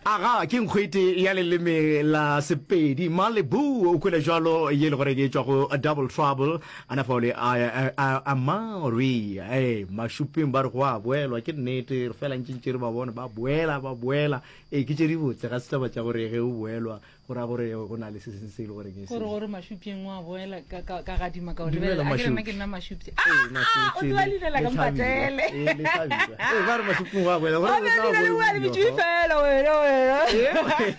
Aga, ke nkgwete ya leleme la Sepedi, Malibu, o kwele jwalo ye le gore ke tšwa go Double Trouble, ana fao le a, a, a Maori, ee, Mašuping ba re go a boelwa, ke nnete, re fela ntše ntše re ba bona ba boela, ba boela, ee, ke tše dibotse, ga se taba tša gore ge o boelwa Go ra gore go na le se sengwe se e le gore ke se. Gore gore Mashupjeng wa boela ka ka ka gadima ka o Dumela lebelela. A ke re nna Mashupje. ke nna Mashupje. Ee, Ah, ah, o Mashupje tseba le leina la le ka Hlabirwa. mpatele. Ee, le Hlabirwa. Ee, ba re Mashupjeng wa boela. Go Ba ra be go tla leina le bo bua le buiwa bitšwe fa. fela wena wena.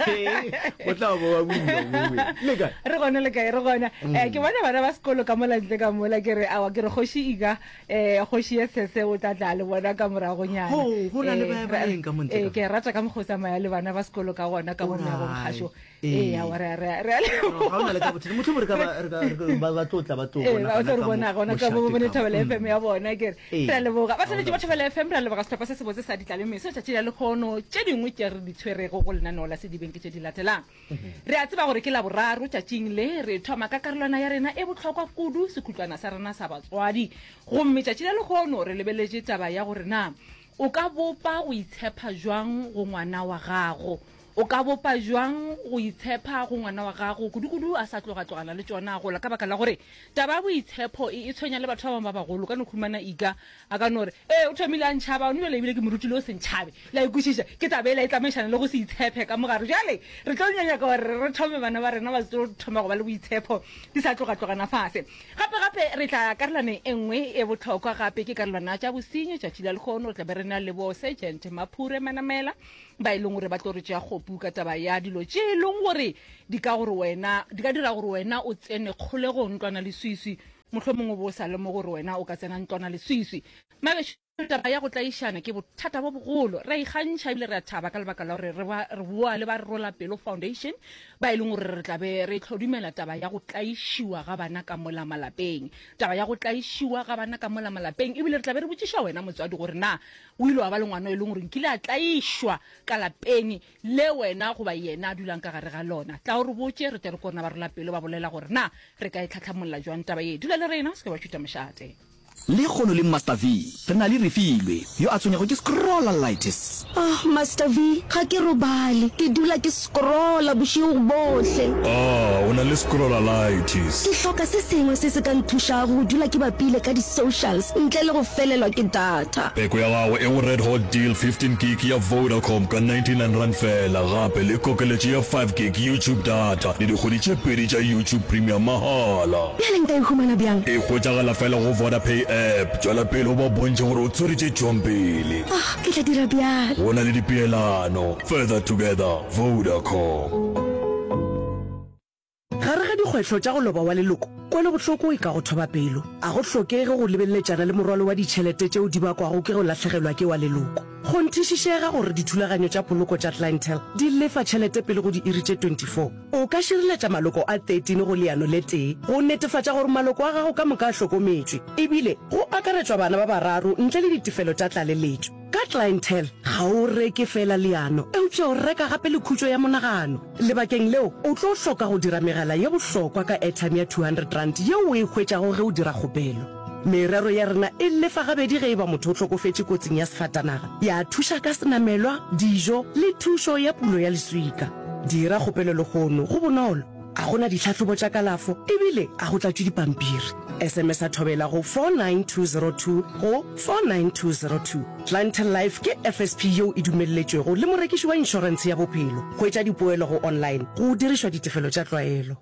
Ee, go tla bo ba buiwa mowe. Le kae? Re gona le kae re gona. Eh ke bona bana ba sekolo ka mola ntle ka mola ke re awa ke re kgoši Ika eh kgoši ye sese o tla tla le bona ka moragonyana. Ho, go na le Eh, ba ra- baeng ka mo ntle eh, ka ke rata ka mokgwa o tsamaya le bana ba sekolo ka gona ka mo meagong kgašo. Ee. Ee, aowa, re a- re a- re a No, ga o na le ka bothata. Mohlomong re ka ba- re ka- re ka- ba ba tlo tla ba tlo Ee, bona ba gona tlo re ka mo bona gona ka mo mošate bone ka mo. Thobela FM ya bona ke re Ee. re a leboga Ga batheletši ona ba Thobela FM re a leboga sehlopha se sebotse sa ditlalemeso tšatši la lekgono tše dingwe tše re di tshwerego go lenaneo la sedibeng ke tše di latelang re a tseba gore ke laboraro tšatšing le re thoma ka karolwana ya rena e bohlokwa kudu sekhutlwana sa rena sa batswadi gomme tšatši la lekgono re lebeletše taba ya gore na o ka bopa go itshepha jwang go ngwana wa gago O ka bopa bjang go itshepa go ngwana wa gago, kudu-kudu a sa tloga-tlogana le tšona a gola? Ka baka la gore taba ya boitshepo e, e tshwenya le batho ba bangwe ba bagolo. O ka no humana Ika a ka no re, Ee, o thomile a ntšhaba, gona bjale ebile ke mo rutile go se ntšhabe. Le a e kwešiša? Ke taba yela e tsamaišana le go se itshepe ka mo gare. Bjale re tlo nyaka gore re thome bana ba rena ba tlo thoma go ba le boitshepo di sa tloga-tlogana fase. Gape-gape re tla karolwaneng e nngwe e bohlokwa gape, ke karolwana ya tša bosenyi. Tšatši la lehono re tla be re na le bo Sergeant Maphure Manamela, ba e leng gore ba tlo re tšea kgopu ka taba ya dilo tše e leng gore di ka gore wena di ka dira gore wena o tsene kgolegong ntlwana leswiswi mohlomongwe o bo o sa lemoge gore wena o ka tsena ntlwana leswiswi magešo taba ya go tlaišana ke bothata bo bogolo re a ikgantšha ebile re a thaba ka lebaka la gore re ba re boa le ba re rola pelo foundation ba e leng gore re tla be re tlhodumela taba ya go tlaišiwa ga bana ka mola malapeng taba ya go tlaišiwa ga bana ka mola malapeng ebile re tla be re botšiša wena motswadi gore na O ile wa ba le ngwana e leng gore nkile a tlaišwa ka lapeng le wena goba yena a dulang ka gare ga lona. Tla o re botše, re tle re kone ba rola pelo ba bolela gore na re ka e tlhatlhamolla jwang taba ye. Dula le rena, o se ke wa tšhuta mošate. Lekgono le Master V, re na le Refilwe, yo a tshwenyago ke scrollalitis. Ah, Master V, ga ke robale. Ke dula ke scrolla bošego bohle. Ah, o na le scrollalitis. Ke hloka se sengwe se se ka nthušago go dula ke bapile ka di-socials ntle le go felelwa ke data. Peko ya gago e go Red Hot Deal 15 gig ya Vodacom ka R99 feela, gape le kokeletšo ya 5 gig YouTube data le dikgwedi tše pedi tša YouTube Premium mahala. Bjale nka e humana bjang? E hwetšagala feela go Vodapay app. Tšwela pele o ba bontšhe gore o tshwere tše tšwang pele. Ah, ke tla dira bjalo. Go na le dipeelano. Further together, Vodacom. Gare ga dikgwetlho tša go loba wa leloko, kwelobohloko e ka go thoba pelo. A go hlokege go lebeleletšana le morwalo wa ditšhelete tšeo di bakwago ke go lahlegelwa ke wa leloko. Kgonthišišega gore dithulaganyo tša poloko tša Clientele di lefa tšhelete pele go diiri tše 24. O ka šireletša maloko a 13 go leano le tee go netefatša gore maloko a gago ka moka a hlokometšwe, ebile go akaretšwa bana ba bararo ntle le ditefelo tša tlaleletšo. Ka Clientele, ga o reke feela leano, eupša o reka gape le khutšo ya monagano. Lebakeng leo, o tlo hloka go dira megala ye bohlokwa ka airtime ya R200 yeo o e hwetšago ge o dira kgopelo. Merero ya rena e lefa gabedi ge e ba motho o hlokofetše kotsing ya sefatanaga, ya thuša ka senamelwa, dijo le thušo ya pulo ya leswika. Dira kgopelo lehono, go bonolo, ga go na ditlhahlobo tša kalafo ebile ga go tlatšwe dipampiri. SMS-a Thobela go 49202 go 49202. Clientele Life ke FSP yeo e dumelletšwego le morekiši wa inšorentshe ya bophelo. Hwetša dipoelo go online go dirišwa ditefelo tša tlwaelo.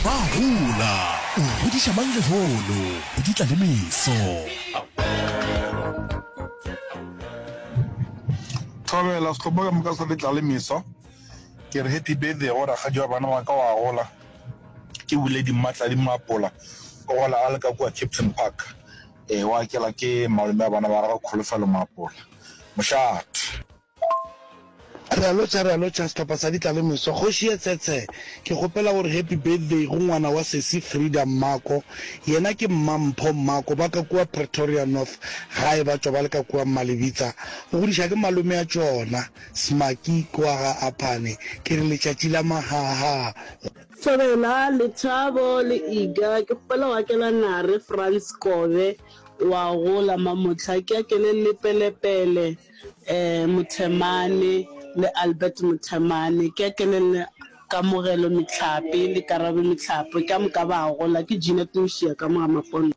Ba gola, o godiša mang lehono go di tla le meso. Thobela, sehlopha ka moka sa Letla le Meso. Ke re happy birthday go rakgadi wa bana ba ka wa gola. Ke Buledi Mmatladi Mmapola, o gola a le ka kua Kempton Park. Ee, wa akela ke malome a bana ba gagwe Kholofelo Maapola. Mošate. Re a lotšha, re a lotšha sehlopha sa Ditlalemeso. Kgoši ye Tshetshe, ke kgopela gore happy birthday go ngwana wa sesi Frieda Mmako. Yena ke Mmampho Mmako, ba ka kua Pretoria North, gae ba tšwa ba le ka kua Mmalebitsa. O godiša ke malome a tšona, Smaki kwa ga Aphane. Ke re letšatši la mahaha go. Thobela, Lethabo le Iga, ke kgopela go akela Nare Frans Kobe wa gola mamohla, ke akele Lepelepele eh Mothemane. le Albert Mothemane. Ke akele le Kamogelo Mehlape le Karabo Mehlape, ka moka ba gola. Ke Jeanette Mošia ka mo ga Mapondo.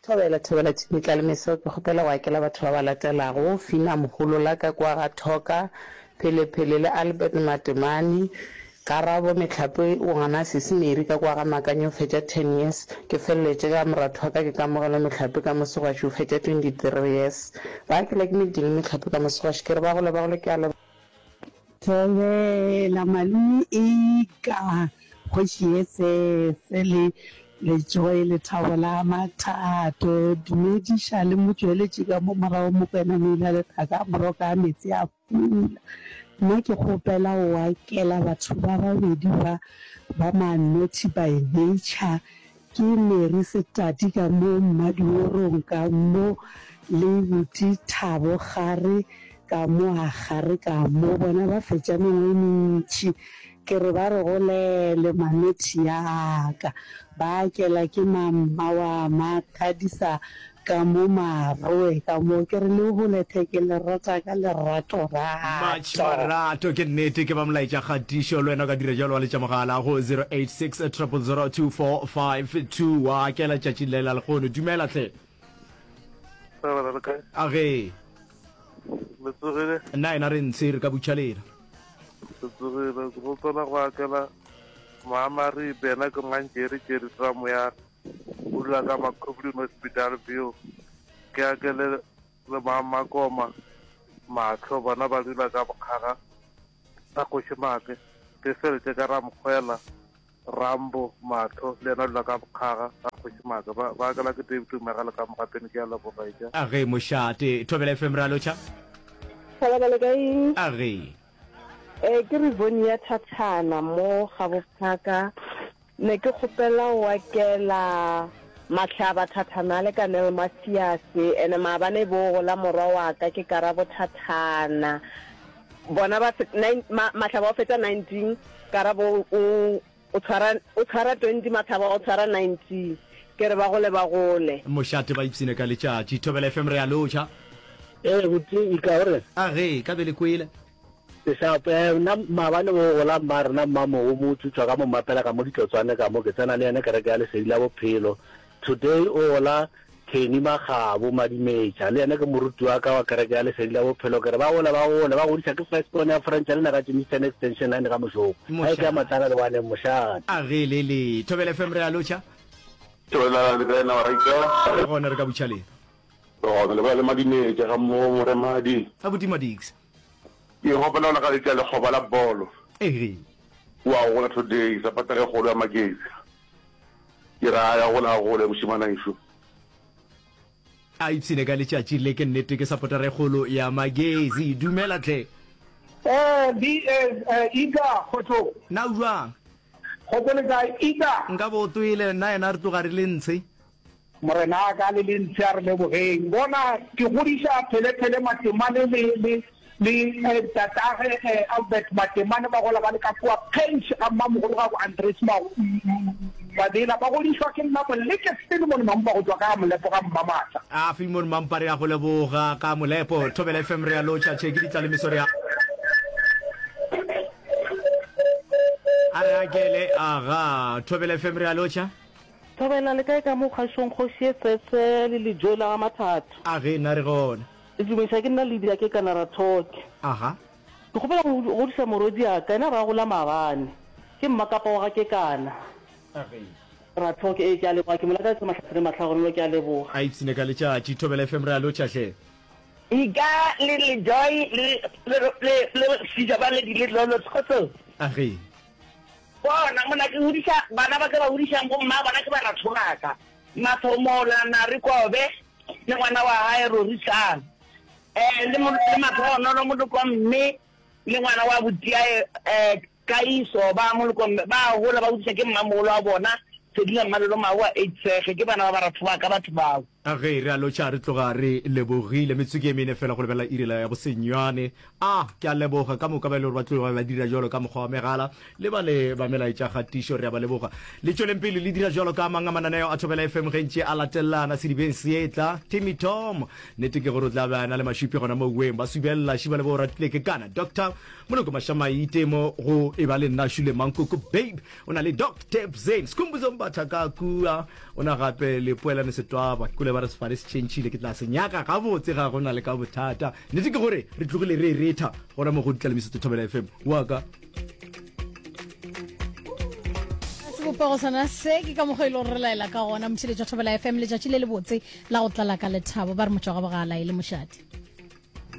Thobela, Thobela Tšhimitla le Meso, ke kgopela go akela batho ba ba latelago, Fina Moholola ka kwa ga Thoka, Phelepele le Albert Matemane, Karabo Mehlape o gana Sisi Mary ka kwa ga Makanyo o fetša ten years, ke feleletše ka moratho wa ka ke Kamogelo Mehlape ka mo Segwaši o fetša 23 years. Ba akela ke Medini Mehlape ka mo Segwaši ke re ba gole ba gole ke a leboga. Thobela malome eka kgoši ye sese le Lejoe lethabo la mathato dumediša le motšweletši ka mo morago Mokwena Moila lethaka a moroka a metsi a pula nna ke kgopela o akela batho ba babedi ba ba ma naughty by nature Ke Mary Setati ka mo Mmadiorong ka mo le buti Thabo Gare ka mo a Gare ka mo bona ba fetša mengwe e mentši ke re ba re golele manothi ya ka ba akela ke mamma wa mathadisa Ka mo maroe ka mo ke re le hole the ke le rata ka lerato Much rato. marato ke nnete ke ba molaetša kgatišo le wena o ka dira jalo wa letša mogala go 086 000 2452 wa akela tšatši le la lekgono dumela hle Thobela le kae? A ge. Le tsogile? Nna ena re ntshe re ka butšha lena. Le tsogile, ke kgopela go akela Moamaribe yena ke Mantšeri Tšeri Tramoyana. O dula ka Makhubling Hospital View. Ke ake le le Makoma Mahlo bona ba dula ka Bokgaga ga Kgoši Maake. Ke feletše ka Ramokgwela Rambo Mahlo le yena o dula ka Bokgaga ga Kgoši Maake. Ba ba akela ke David Tumegele ka Mogapeni ke a leboga etša. A ge mošate. Thobela FM re a lotšha. Thobela le kae? A ge. Eh ke Rivonia Thathana mo Gabophaka. Ne ke kgopela o akela Mahlaba Thathana le Kanel Mathiase ene maabane bo gola morwa wa ka ke Karabo Thathana bona ba nine ma, Mahlaba o fetša 19 Karabo o o tshwara o tshwara 20 Mahlaba o tshwara 19 ke re ba gole ba gole. Mošate ba ipshine ka letšatši. Thobela FM re a lotšha. Ee, buti, ika o re. A ge, ka be le kwele. Ke sharp. Eh, nna maabane bo gola mma rena mmamogo mo tšwa ka mo mmapela ka mo ditlotswane ka mo ke tsena le yena kereke ya Lesedi la Bophelo. Today o gola Kenny Makgabo Madimetša le yena ke moruti wa ka wa kereke ya Lesedi la Bophelo. Ke re ba gole ba gole ba godiša ke first born ya French le na ka Germiston Extension 9 ga Mošopo. Ga e ke ya Matlala le waneng mošate. A ge le le. Thobela FM re a lotšha. Thobela le kae na wa raika? Re gona re ka butšha lena. Re gona le bolela le Madimetša ga mo Moremadi. Abuti Madix. Ke gopela go lakaletša lekgoba la bolo. Ege. O a gola today, sapata ge kgolo ya Magesi. Ke re a ya gola a gole mošemanaešo. A ipshine ka letšatši le ke nnete ke sapotara e kgolo ya Magesi. Dumela tle. Eh, B, eh, eh, Ika, kgotso. Na o jwang? Kgotso le kae, Ika? Nka bo o twele, nna yena re tloga re le ntshe. Morena a ka le le ntshe a re lebogeng. Bona, ke godiša Phelepele Matemane le, le, le eh, tatage eh, Albert Matemane ba gola ba le ka kua Kgenši ga mmamogolo gago Andries Ma, Mabela. Ba godišwa ke nna Moleke Philemon Mampa go tšwa ka Molepo ga Mmamatla. A Philemon Mampa re a go leboga ka Molepo. Thobela FM re a lotšha tšhe ke ditlalemeso re a. A re akele aga Thobela FM re a lotšha. Thobela le kae ka mo kgašong kgoši ye sese le lejoe la ga Mathatho. A ge nna re gona. Le dumediša ke nna Lydia ke kana Rathoke. Aha. Ke kgopela go godiša morwediaka yena ra gola maabane. Ke mmakapa wa ga Kekana. A ge. Rathoke ee ke a leboga ke mo lakaletsa mahlatse le mahlagonolo ke a leboga. A ipshine ka letšatši. Thobela FM re a lotšha hle. Ika le le Joy le le le le Sija ba le di le lolo kgotsong. A ge. Bona, mona ke godiša bana ba ke ba godišang bomma bona ke baratho ba ka, Mathomola, Nare Kobe le ngwana wa hae Rorisang, eh, le, le Matlhogonolo moloko wa mme le ngwana wa butiae eh, Kaiso ba moloko mme ba gola ba godiša ke mmamogolo wa bona Sedila Mmalolo Magoa Eitsege, ke bana ba baratho ba ka batho bao. A ge re a lotšha re tloga re lebogile. Metsotso ke e mene fela go lebelela iri la ya bosenyane. A ke a leboga ka moka ba e le gore ba tloga ba dira jalo ka mokgwa wa megala le ba le ba melaetša kgatišo re a ba leboga. Le tšweleng pele le dira jalo ka mang a mananeo a Thobela FM ge ntše a latelelana sedibeng se etla. Timmy Tom nnete ke gore o tla be a na le mašupi gona mo weng ba subelela šiba le bo ratile ke kana Doctor Moloko Mašamaite mo go e ba le nna Shule Mankoko babe O na le Doc Tebzane, Skhumbuzo Mbatha ka kua, o na gape le Poelane Setwaba. Ke kule ba re sefane se tšhentšhile, ke tla se nyaka gabotse ga go na le ka bothata. Nnete ke gore re tlogile re e retha gona mo go Ditlalemiso tsa Thobela FM. Wa ka. Sebopego sona se ke ka mokgwa e le gore re laela ka gona motheletša Thobela FM letšatši le lebotse la go tlala ka lethabo ba re motšwa ga bogala e le mošate.